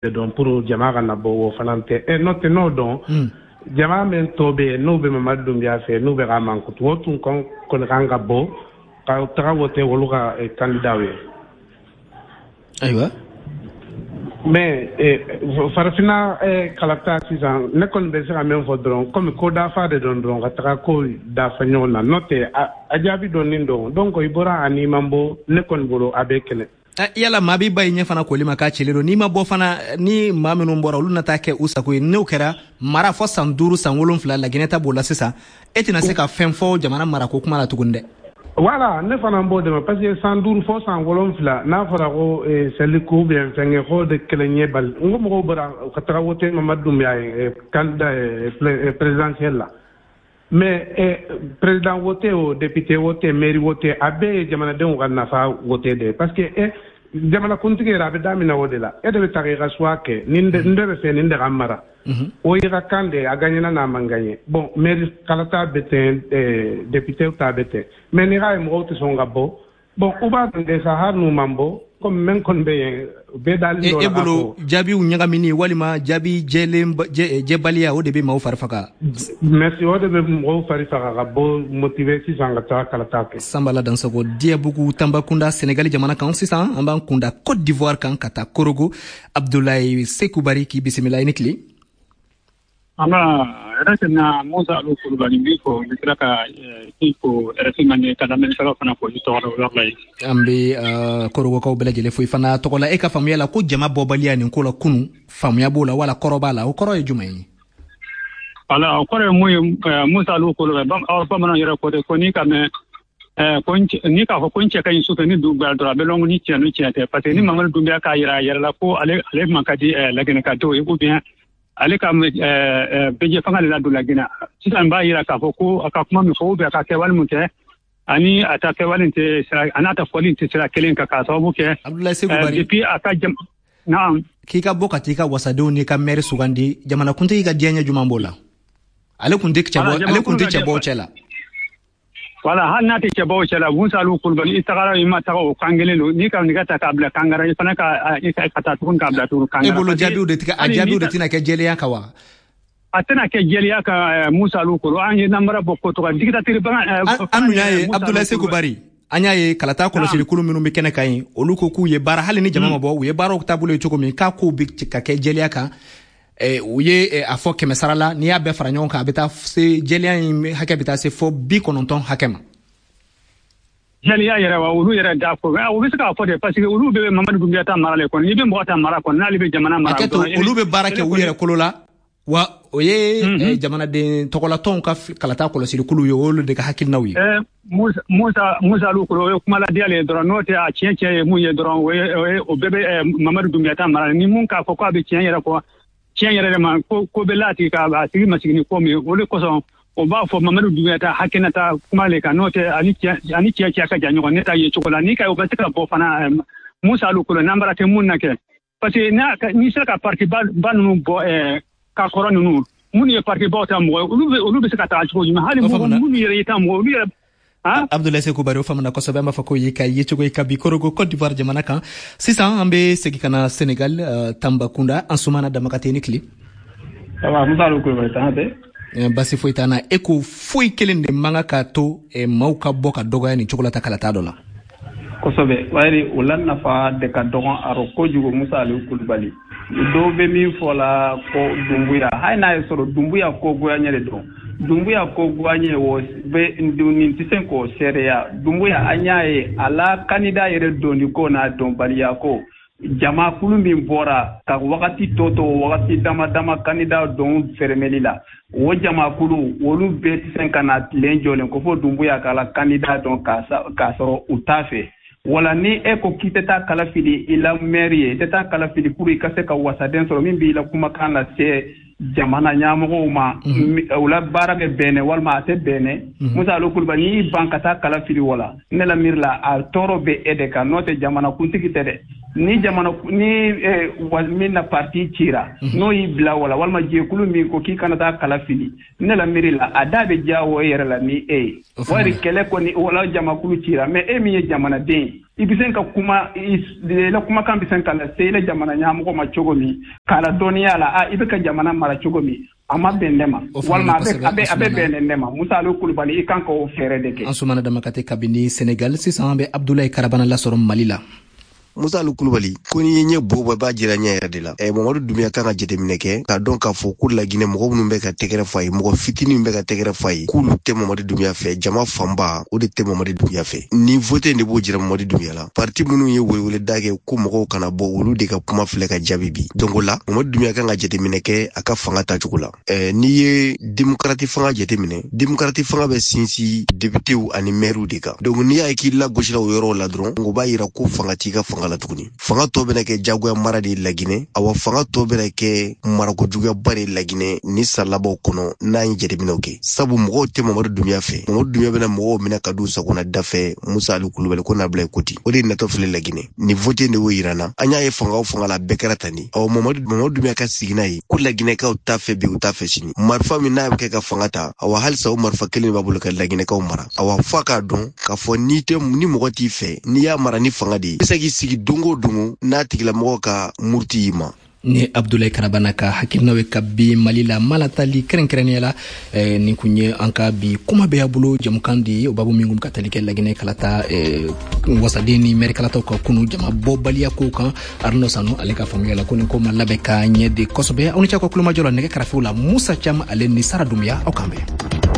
Dɔn pour jama ka na bɔ, o fana tɛ. N'o tɛ, n'o dɔn jama min tɔ bɛ yen, n'u bɛ Mamadu Dunbiya fɛ, n'u bɛ ka mankutu, o tun kɔni kan ka bɔ ka taga wote olu ka candidat ye. Ayiwa. Mais farafinna kalata sisan, ne kɔni bɛ se ka min fɔ dɔrɔn, komi ko dafa de dɔn dɔrɔn, ka taga ko dafa ɲɔgɔn na, n'o tɛ a jaabi dɔnnen dɔn. Donc i bɔra ani man bɔ, ne kɔni bolo a bɛ kɛlɛ. Yala maa b'i ba i ɲɛ fana koli ma k'a cilen don, n'i ma bɔ fana, ni maa minnu bɔra, olu na taa kɛ u sago ye. N'o kɛra mara fɔ san 5, san 7, Laginɛ ta b'o la sisan, e tɛna se ka fɛn fɔ jamana marako kuma la tuguni dɛ. Voilà, ne fana b'o de ma, parce que san 5 fɔ san 7, n'a fɔra ko seli ko ou bien fɛnkɛ ko de kɛlɛ ɲɛ bali, n ko mɔgɔw bɔra ka taga wote Mamadu Dunbiya ye candidat présidentiel la. Mais président wote o, député wote, mairie wote, a bɛɛ ye jamanadenw ka nafa wote de, parce que jamana kuntigi yɛrɛ a bɛ daminɛ o de la. E de bɛ taga i ka choix kɛ, nin de bɛ fɛ, nin de ka mara, o y'i ka kan de, a gagnera n'a man gagné. Bon, mairie kalata bɛ ten, député ta bɛ ten. Mais n'i k'a ye mɔgɔw tɛ sɔn ka bɔ, bon, u b'a dɔn de sa, hali n'u man bɔ, komi min kɔni bɛ yen, bɛɛ dalen E bolo, jaabiw ɲagamini walima jaabi jɛlen jɛbaliya, o de bɛ maaw fari faga? Merci, o de bɛ mɔgɔw fari faga ka bɔ motiver sisan ka taa kalata kɛ. Sanbala Dansogo, Diyabugu, Tanbakunda, Senegali jamana kan. Sisan an b'an kunda Côte d'Ivoire kan ka taa Korogo. Abdoulaye Sekubari, k'i bisimila, i ni tile. An b'a yɛrɛ na, Musa Alu Kulubali n b'i fo, n bɛ tila ka i fo RFI Mande ka lamɛnnikɛlaw fana fo i tɔgɔ la walayi. An bɛ Korogokaw bɛɛ lajɛlen fo i fana tɔgɔ la. E ka faamuya la, ko jama bɔbaliya nin ko la kunun, faamuya b'o la wala kɔrɔ b'a la, o kɔrɔ ye jumɛn ye? Wala, o kɔrɔ ye mun ye, Musa Alu Kulubali, aw bamananw yɛrɛ ko ten ko n'i ka mɛn ko n'i k'a fɔ ko n cɛ ka ɲi su fɛ, ni dugu gbɛra dɔrɔn, a bɛ lɔn ni tiɲɛ ni tiɲɛ tɛ, parce que ni Mamadu Dunbiya k'a yira a yɛrɛ la ko ale man ka di Laginɛkadenw ye, ou bien ale ka bɛjɛ fanga de la don Laginɛ sisan, b'a yira k'a fɔ ko a ka kuma min fɔ ou bien a ka kɛwale min kɛ, ani a ta kɛwale tɛ sira, a n'a ta fɔli tɛ sira kelen kan, k'a sababu kɛ Abdoulaye Sekou. Depuis a ka jam, naam. K'i ka bɔ ka t'i ka wasadenw n'i ka maire sugandi, jamanakuntigi ka diɲɛ ɲɛ jumɛn b'o la? Ale kun tɛ cɛbɔ, ale kun tɛ cɛbɔw cɛ la. Voilà, hali n'a tɛ cɛbaw cɛ la, Musa Alu Kulubali, i tagara i ma taga, o kan kelen don. N'i ka nɛgɛ ta k'a bila kangara, i fana ka ka taa tuguni k'a bila tuguni kangara. E bolo, jaabiw de tigɛ, a jaabiw de tɛna kɛ jɛlenya kan wa? A tɛna kɛ jɛlenya kan, Musa Alu Kulubali. An ye namara bɔ ko tɔgɔ dictature bagan. An dun y'a ye, Abdoulaye Sekou Bari, an y'a ye kalata kɔlɔsili kulu minnu bɛ kɛnɛ kan yen, olu ko k'u ye baara, hali ni jama ma bɔ, u ye baaraw taabolo ye cogo min k'a kow bɛ ka kɛ jɛlenya kan. U ye a fɔ 100 sara la, n'i y'a bɛɛ fara ɲɔgɔn kan, a bɛ taa se jɛlenya in hakɛ bɛ taa se fɔ 90 hakɛ ma. Jɛlenya yɛrɛ wa, olu yɛrɛ da fɔ, u bɛ se k'a fɔ de, parce que olu bɛ Mamadu Dunbiya ta mara le kɔnɔ. N'i bɛ mɔgɔ ta mara kɔnɔ, n'ale bɛ jamana mara. Hakɛ to, olu bɛ baara kɛ u yɛrɛ kolo la wa, o ye jamanaden tɔgɔlatɔnw ka kalata kɔlɔsili kulu ye, olu de ka hakilinaw ye. Musa Alu Kolo, o ye kuma ladiya le ye dɔrɔn, n'o tɛ a tiɲɛ tiɲɛ ye mun ye dɔrɔn, o ye o bɛɛ bɛ Mamadu Dunbiya ta mara. Ni mun k'a fɔ k'a bɛ tiɲɛ yɛrɛ fɔ, tiɲɛ yɛrɛ de ma ko ko bɛ la tigi ka a tigi masigi ni ko min ye, o de kosɔn o b'a fɔ Mamadu Dunbiya ta hakɛnata kuma le kan, n'o tɛ ani tiɲɛ cɛ ka jan ɲɔgɔn. Ne ta ye cogo la, n'i ka o bɛ se ka bɔ fana, Musa Alu Kolo, n'an bara tɛ mun na kɛ, parce que n'i sera ka parti ba ninnu bɔ ka kɔrɔ ninnu, minnu ye parti baw ta mɔgɔ ye, olu bɛ se ka taga cogo jumɛn? Hali minnu yɛrɛ y'i ta mɔgɔ, olu yɛrɛ. Abdoulaye Sekou Bari, o faamuna kosɛbɛ. An b'a fɔ ko ye ka yecogo ye ka bi Korogo, Côte d'Ivoire jamana kan. Sisan an bɛ segin ka na Sénégal, Tambakunda, Ansumana Damakate, ni tile. Ça va, Musa Alu Kulubali, tan tɛ? Basi foyi t'an na. E ko foyi kelen de man kan ka to maaw ka bɔ ka dɔgɔya nin cogo la ta kalata dɔ la. Kosɛbɛ, wayiri o la nafa de ka dɔgɔn a rɔ kojugu, Musa Alu Kulubali. Dɔw bɛ min fɔ la ko Dunbuya, hali n'a ye sɔrɔ Dunbuya ko goyaɲɛ de don, Dunbuya ko goyaɲɛ o bɛ nin tɛ se k'o seereya. Dunbuya, an y'a ye a la candidat yɛrɛ donni ko n'a dɔnbaliya ko, jamakulu min bɔra ka wagati tɔ to, wagati dama dama candidat don fɛrɛmɛli la, o jamakulu olu bɛɛ tɛ se ka na tilen jɔlen ko fo Dunbuya k'a la candidat dɔn k'a sɔrɔ u t'a fɛ. Wala ni e ko k'i tɛ taa kala fili i la maire ye, i tɛ taa kala fili pour i ka se ka wasaden sɔrɔ min b'i la kumakan lase jamana ɲɛmɔgɔw ma, u la baara bɛ bɛnɛ walima a tɛ bɛnɛ. Musa Alu Kulubali, n'i y'i ban ka taa kala fili, wala ne la miiri la, a tɔɔrɔ bɛ e de kan, n'o tɛ jamana kuntigi tɛ dɛ. Ni jamana ni min na parti cira, n'o y'i bila wala walima jɛkulu min ko k'i kana taa kala fili, ne la miiri la, a da bɛ diya o yɛrɛ la ni e ye. Wari kɛlɛ kɔni wala jamakulu cira, mais e min ye jamanaden ye, i bɛ se ka kuma, i la kumakan bɛ se ka lase i la jamana ɲɛmɔgɔ ma cogo min, k'a la dɔnniya la, a i bɛ ka jamana mara cogo min, a ma bɛn ne ma, walima a bɛ bɛn ne ma. Musa Aliou Kulubali, i kan ka o fɛɛrɛ de kɛ. Ansoumana Damakate kabini Senegal. Sisan an bɛ Abdoulaye Karabana lasɔrɔ Mali la. Musa Aliou Kulubali, ko n'i ye ɲɛ bo bɔ, i b'a jira ɲɛ yɛrɛ de la. Mamadu Dunbiya kan ka jateminɛ kɛ k'a dɔn k'a fɔ ko Laginɛ mɔgɔ minnu bɛ ka tɛgɛrɛ fɔ a ye, mɔgɔ fitinin bɛ ka tɛgɛrɛ fɔ a ye, k'olu tɛ Mamadu Dunbiya fɛ. Jama fanba o de tɛ Mamadu Dunbiya fɛ. Ni vote de b'o jira Mamadu Dunbiya la. Parti minnu ye weleweleda kɛ ko mɔgɔw kana bɔ, olu de ka kuma filɛ ka jaabi bi. Donc o la, Mamadu Dunbiya kan ka jateminɛ kɛ a ka fanga tacogo la. N'i ye démocrate fanga jateminɛ, démocrate fanga bɛ sinsin députéw ani maires de kan. Donc n'i y'a ye k'i lagosira o yɔrɔw la dɔrɔn, o b'a yira ko fanga t'i ka fanga la tuguni. Fanga tɔ bɛna kɛ jagoya mara de ye Laginɛ. Awa, fanga tɔ bɛna kɛ marako juguyaba de ye Laginɛ ni san labanw kɔnɔ, n'an ye jateminɛw kɛ, sabu mɔgɔw tɛ Mamadu Dunbiya fɛ. Mamadu Dunbiya bɛna mɔgɔw minɛ ka d'u sagona da fɛ. Musa Ali Kulubali, ko n'a bila ko ten, o de natɔ filɛ Laginɛ. Ni vote de y'o yira na. An y'a ye fanga o fanga la, bɛɛ kɛra tan de. Awa, Mamadu Dunbiya ka sigi n'a ye ko Laginɛkaw t'a fɛ bi, u t'a fɛ sini. Marifa min n'a bɛ kɛ ka fanga ta, awa, halisa o marifa kelen b'a bolo ka Laginɛkaw mara. Awa, f'a k'a dɔn k'a fɔ n'i tɛ ni mɔgɔ t'i fɛ, n'i y'a mara ni fanga de ye, i bɛ se k'i sigi don o don n'a tigilamɔgɔ ka muruti y'i ma. Ni Abdoulaye Karabana ka hakilinaw ye ka bi Mali la malatali kɛrɛnkɛrɛnnenya la. Nin kun ye an ka bi kuma bɛ y'a bolo jamukan de ye, o babu min kun ka tali kɛ Laginɛ kalata, wasaden ni mɛri kalataw ka kunu jama bɔbaliya kow kan. Arnaud Sanu, ale ka faamuya la, ko nin ko ma labɛn ka ɲɛ de kosɛbɛ. Aw ni ce aw ka kulomajɔ la. Nɛgɛ karafew la, Musa Cam ale ni Sara Dunbiya. Aw kan bɛn.